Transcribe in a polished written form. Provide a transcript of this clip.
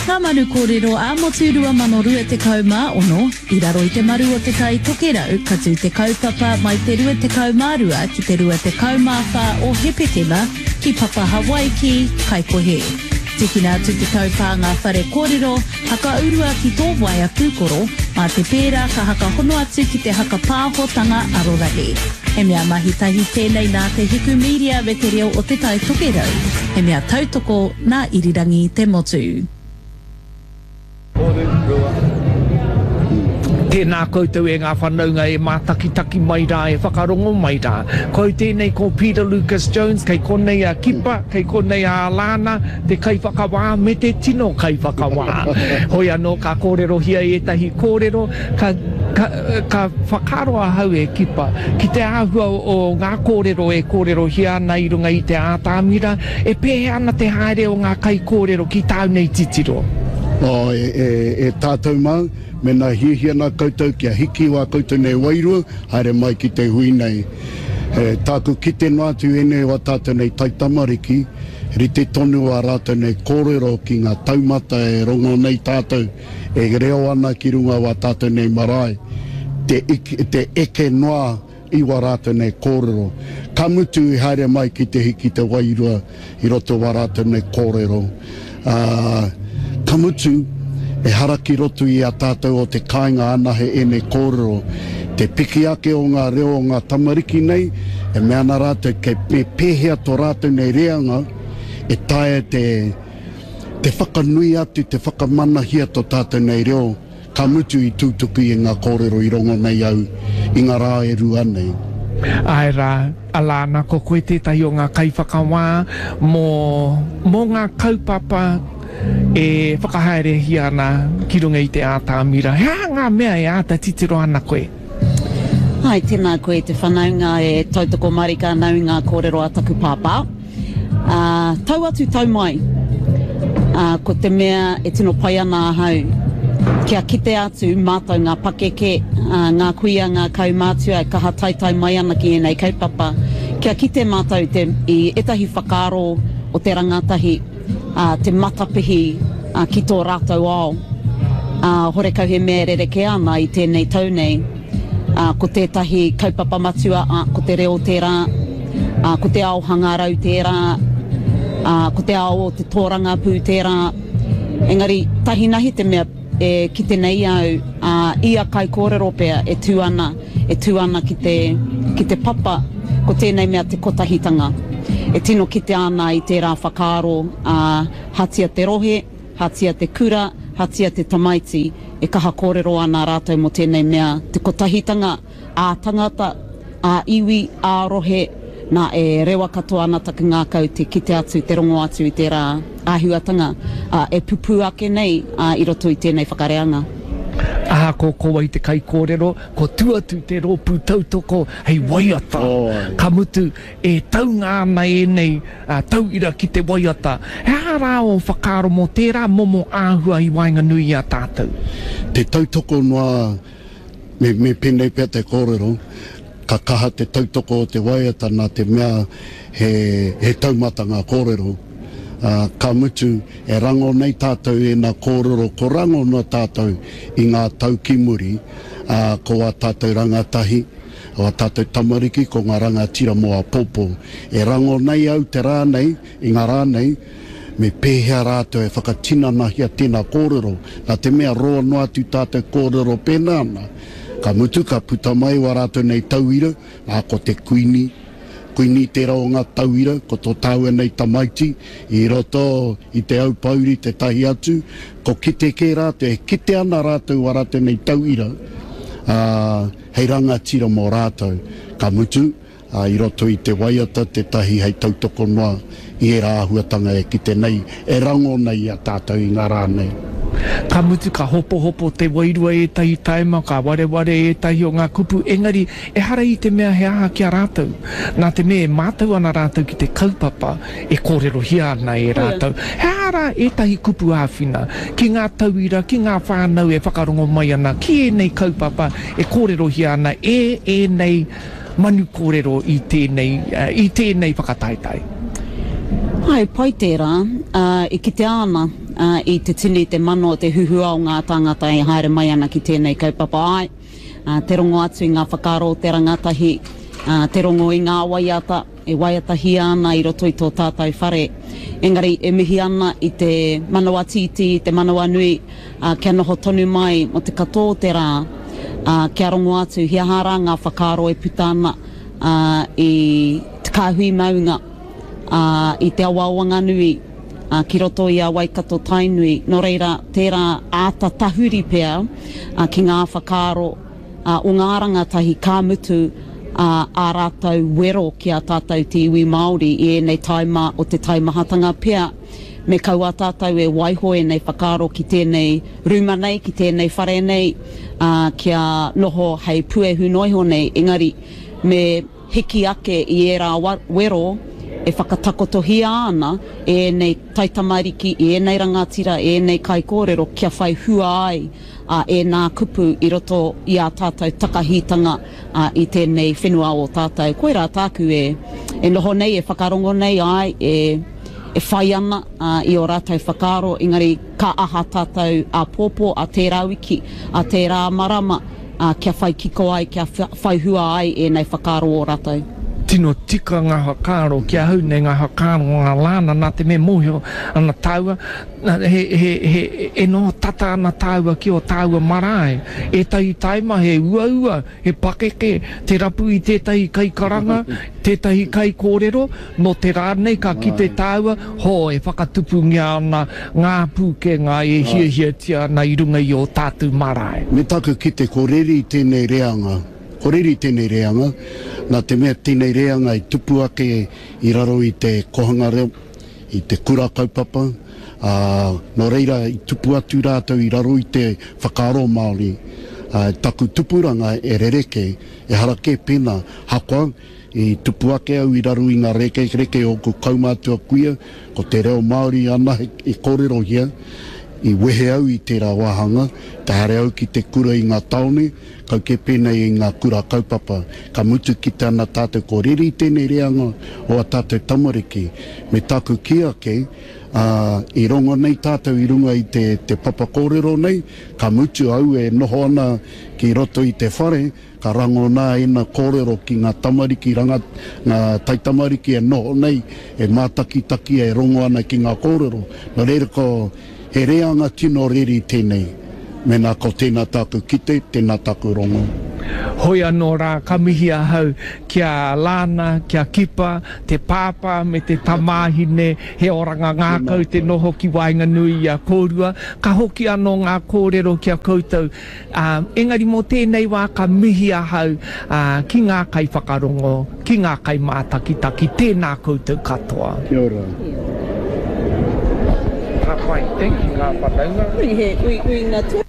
Ngā Manu Kōrero ā-Motu 2026, i raro i te maru o Te Tai Tokerau, ka tū te kaupapa mai te 22 ki te 24 o Hepetema ki Papa Hawaiki, Kaikohe. Tīkina atu te taupānga whare kōrero, hakaurua ki tō waea pūkoro, mā te pērā ka hakahono atu ki te hakapāhotanga arorangi. He mea mahi tahi tēnei nā Te Hiku Media me Te Reo o Te Tai Tokerau, he mea tautoko nā Irirangi Te Motu. Tēnā koutou e ngā whanaunga e mātakitaki mai rā, e whakarongo mai rā. Ko au tēnei ko Peter Lucas Jones, kei konei a Kipa, kei konei a Alana, te kaiwhakawā me te tino kaiwhakawā. Hoi anō ka kōrerohia ētahi kōrero, ka, ka, ka whakaaro ahau e Kipa, ki te āhua o ngā kōrero e kōrerohia ana i runga i te ātamira, E pēhea ana te haere o ngā kaikōrero ki tāu nei titiro? Oh, e, e, e tātou mā, mēnā hiahia ana koutou kia hiki wā koutou nei wairua, haere mai ki te hui nei. E, tāku kite noa atu ēnei o ā tātou nei taitamariki, rite tonu ā rātou nei kōrero ki ngā taumata e rongo nei tātou, e reo ana ki runga o ā tātou nei marae, te, te eke noa i wā rātou nei kōrero. Ka mutu i haere mai ki te hiki te wairua i roto wā rātou nei kōrero. Ā, ka mutu, ehara ki roto i a tātou o te kāinga anahe ēnei kōrero. Te piki ake o ngā reo o ngā tamariki nei, e mea ana rātou kei me pēhea tō rātou nei reanga e taea te te whakanui atu, te whakamanahia tō tātou nei reo. Ka mutu i tūtuki i ngā kōrero i rongo nei au i ngā rā e rua nei. Āe rā, Alana, ko koe tētahi o ngā kaiwhakawā mō, mō ngā kaupapa e whakahaerehia ana ki runga i te ātamira. He aha ngā mea e āta titiro ana koe? Āe, tēnā koe te whanaunga e tautoko marika ana i ngā kōrero a taku pāpā. Ā, tau atu tau mai, ā, ko te mea e tino pai ana ahau, kia kite atu mātou ngā pakeke, ā, ngā kuia, ngā kaumātua e kaha taetae mai ana ki ēnei kaupapa, kia kite mātou te, i ētahi whakaaro o te rangatahi, ā, te matapihi, ā, ki tō rātou ao. Ā, horekau he mea e rerekē ana i tēnei tau nei. Ā, ko tētahi kaupapa matua, ā, ko te reo tērā, ā, ko te ao hangarau tērā, ā, ko te ao o te tōrangapū tērā. Engari, tahinahi te mea e kite nei au, ā, ia kaikōrero pea e tū ana, e tū ana ki te, ki te papa, ko tēnei mea te kotahitanga. E tino kitea ana i tērā whakaaro, ā, hatia te rohe, hatia te kura, hatia te tamaiti, e kaha kōrero ana rātou mō tēnei mea te kotahitanga ā-tangata, ā-iwi, ā-rohe, nā, e rewa katoa ana taku ngākau te kite atu, te rongo atu i tērā āhuatanga, ā, e pupū ake nei, ā, i roto i tēnei whakareanga. Ahakoa ko wai te kaikōrero, ko tua atu te rōpū tautoko hei waiata, ka mutu, E taunga ana ēnei tauira ki te waiata. He aha rā ō whakaaro mō tērā momo āhua i waenganui i a tātou? Te tautoko noa, me, me pēnei pea te kōrero, ka kaha te tautoko o te waiata nā te mea he, he taumata ngā kōrero. Ā, ka mutu, e rango nei tātou ēnā kōrero ko rangona tātou i ngā tau ki muri, ā, ko ā tātou rangatahi, O a tātou tamariki ko ngā rangatira mō āpōpō. E rango nei au te rā nei, i ngā rā nei, me pēhea rātou e whakatinanahia tēnā kōrero, nā te mea roa noa atu tātou kōrero pēnā ana. Ka mutu ka puta mai wā rātou nei tauira, nā ko te Kuini, Kuini tērā o ngā tauira, ko tō tāua nei tamaiti, i roto i te Aupōuri tētahi atu, ko kite kē rātou, e kite ana rātou wā rātou nei tauira, ā, hei rangatira mō rātou, ka mutu, ā, i roto i te waiata tētahi hei tautoko noa i ērā āhuatanga e kite nei, e rangona i a tātou i ngā rā nei. Ka mutu, ka hopohopo te wairua ētahi taima, ka wareware ētahi o ngā kupu, engari ehara i te mea he aha ki a rātou, nā te mea e mātau ana rātou ki te kaupapa e kōrerohia ana e rātou. He aha rā ētahi kupu āwhina ki ngā tauira, ki ngā whānau e whakarongo mai ana ki ēnei kaupapa e kōrerohia ana e ēnei manu kōrero i tēnei, i tēnei whakataetae? Āe, pai tērā. Ā, e kitea ana. i te tini, te mano, te huhua o ngā tāngata e haere mai ana ki tēnei kaupapa. Āe, te rongo atu i ngā whakaaro o te rangatahi, te rongo i ngā waiata e waiatahia ana i roto i tō tātou whare. Engari e mihi ana i te manawa tītī, i te manawa nui, kia noho tonu mai mō te katoa o te rā, kia rongo atu he aha rā ngā whakaaro e puta ana i te kāhui maunga, i te awa o Wanganui, ki roto i a Waikato Tainui. Nō reira, tērā āta tahuri pea ki ngā whakaaro o ngā rangatahi ka mutu ā rātou wero ki a tātou te iwi Māori i ēnei taima o te taimahatanga pea. Me kaua tātou e waiho ēnei whakaaro ki tēnei rūma nei, ki tēnei whare nei, ā, kia noho hei puehu noa iho nei, engari me hiki ake i ērā wero e whakatakotohia ana e ēnei taitamariki, e ēnei rangatira, e ēnei kaikōrero kia whai hua ai ēnā kupu i roto i ā tātou takahitanga i tēnei whenua o tātou. Koirā tāku e noho nei, e whakarongo nei, āe, e e whai ana i ō rātou whakaaro, engari ka aha tātou āpōpō, ā tērā wiki, ā tērā marama, kia whai kiko ai, kia whai hua ai ēnei whakaaro o rātou. Tino tika ngā whakaaro ki ahau nei, ngā whakaaro o ngā Lana, nā te mea mōhio ana tāua, he, he, he, e noho tata ana tāua ki ō tāua marae. Ētahi taima he uaua, He pakeke te rapu i tētahi kaikaranga, tētahi kaikōrero, nō te rā nei ka kite tāua, hō, e whakatupungia ana ngā pūkenga e hiahiatia ana i runga i ō tātou marae. Me taku kite ko reri tēnei reanga, ko reri tēnei reanga, nā te mea tēnei reanga i tupu ake i raro i te kohanga reo, i te kura kaupapa, ā, nō reira i tupu atu rātou i raro i te whakaaro Māori. Ā, taku tupuranga e rerekē, ehara kē pēnā, hakoa, i tupu ake au i raro i ngā rekereke o ōku kaumātua kuia, ko te reo Māori anahe i kōrerohia, i wehe au i tērā wāhanga, ka haere au ki te kura i ngā tāone, Kau kē pēnei i ngā kura kaupapa, ka mutu kite ana tātou ko reri tēnei reanga o a tātou tamariki. Me tāku kī ake, ā, i rongo nei tātou i runga i te, te papa kōrero nei, ka mutu au e noho ana ki roto i te whare, ka rangona ēna kōrero ki ngā tamariki ranga, ngā taitamariki e noho nei, e mātakitaki, e rongo ana ki ngā kōrero. Nō reira ko. He reanga tino reri tēnei, mēnā ko tēnā tāku kite, tēnā tāku rongo. Hoi anō rā, ka mihi ahau ki a Lana, ki a Kipa, te pāpā me te tamāhine, he oranga ngākau te noho ki waenganui i a kōrua. Ka hoki anō ngā kōrero ki a koutou, ā, engari mō tēnei wā ka mihi ahau, ā, ki ngā kaiwhakarongo, ki ngā kaimātakitaki, tēnā koutou katoa. Kia ora. Ka pai, thank you ngā whanaunga. He uiuinga.